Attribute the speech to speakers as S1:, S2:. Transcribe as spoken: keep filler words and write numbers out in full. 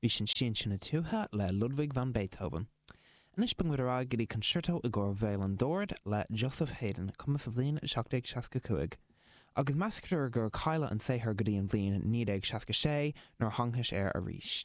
S1: Bhí sin Siansa na Tuaithe le Ludwig van Beethoven. Anois bogfaidh muid ar aghaidh go dtí concerto i gcomhair veidhlín and dord le Joseph Haydn, cumtha sa bhliain seacht déag seasca cúig. Agus meastar gur cailleadh an saothar go dtí an bhliain naoi déag seasca sé nuair a thángthas air arís.